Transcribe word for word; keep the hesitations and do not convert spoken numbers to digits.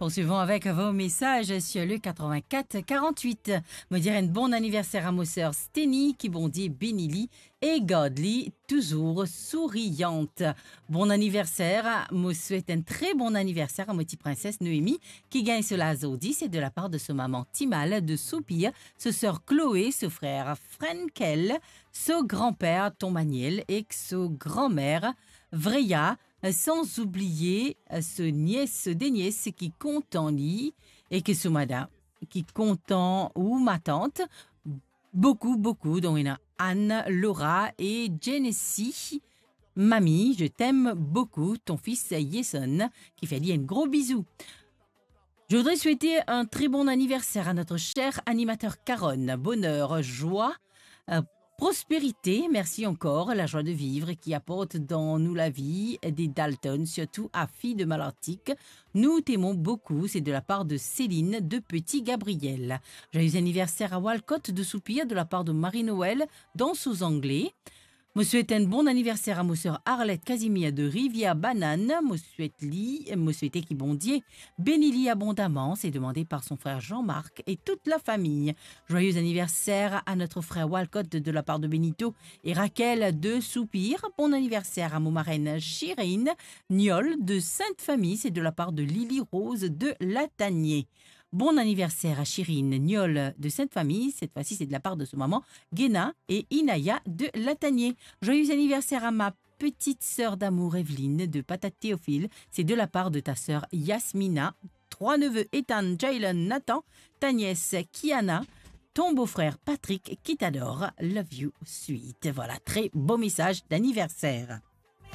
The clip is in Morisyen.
Poursuivons avec vos messages sur le quatre-vingt-quatre quarante-huit. Mo dir enn bon anniversaire à mo sœur Steny, ki Bondie beni li e gard li toujours souriante. Bon anniversaire, mo swet enn tre bon anniversaire à mo ti princesse Noémie, ki gagn so la zordi, c'est de la part de son maman Timal de Soupir, so sœur Chloé, so frère Frenkel, so granpère Ton Maniel ek so granmère Vreya, sans oublier, euh, so nies, so denies ki kontan li, ek so madam ki kontan ou matant. Beaucoup, beaucoup. Donc, il y a Anne, Laura et Genesis. Mamie, je t'aime beaucoup, ton fils Jason, ki fer li enn gro bizou. Je voudrais souhaiter un très bon anniversaire à notre cher animateur Caron. Bonheur, joie, euh, prospérité, merci encore, la joie de vivre qui apporte dans nous la vie des Dalton, surtout à Fille de Malartic. Nous t'aimons beaucoup, c'est de la part de Céline de Petit Gabriel. Joyeux anniversaire à Walcott de Soupir de la part de Marie-Noël dans sous anglais. Mo swet enn bon anniversaire à mo sœur Arlette Casimir de Rivière Banane. Mo swet li, mo swete ki Bondie beni li abondamment. C'est demandé par son frère Jean-Marc et toute la famille. Joyeux anniversaire à notre frère Walcott de la part de Benito et Raquel de Soupir. Bon anniversaire à mo marenn Chirine Niol de Sainte-Famille. C'est de la part de Lily Rose de Latanier. Bon anniversaire à Chirine Niol de Sainte-Famille. Cette fois-ci, c'est de la part de son maman Gena et Inaya de Latanier. Joyeux anniversaire à ma petite sœur d'amour Evelyne de Patate Théophile. C'est de la part de ta sœur Yasmina. Trois neveux, Ethan, Jalen, Nathan, ta nièce Kiana, ton beau-frère Patrick qui t'adore. Love you, sweet. Voilà, très beau message d'anniversaire.